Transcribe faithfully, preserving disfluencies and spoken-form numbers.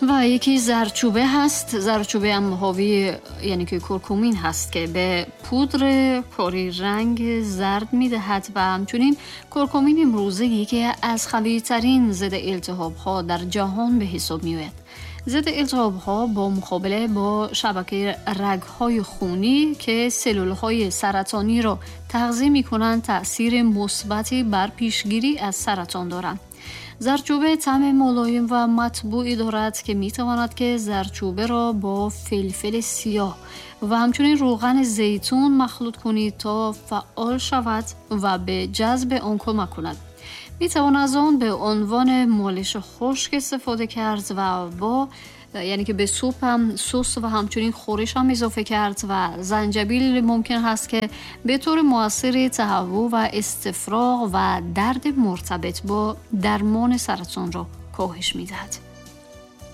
و یکی زردچوبه هست. زردچوبه هم حاوی یعنی که کورکومین هست که به پودر کاری رنگ زرد میدهد و همچنین کورکومین امروزه یکی از قوی‌ترین ضد التهاب ها در جهان به حساب میآید. ضد التهاب ها با مقابله با شبکه رگ های خونی که سلول های سرطانی را تغذیه می کنند تأثیر مثبتی بر پیشگیری از سرطان دارند. زردچوبه طعم ملایم و مطبوعی دارد که می تواند که زردچوبه را با فلفل سیاه و همچنین روغن زیتون مخلوط کنید تا فعال شود و به جذب آن کمک کند. می توان از آن به عنوان مالش خشک استفاده کرد و با یعنی که به سوپ هم سس و همچنین خورش هم اضافه کرد و زنجبیل ممکن هست که به طور موثر تهوع و استفراغ و درد مرتبط با درمان سرطان را کاهش می‌دهد.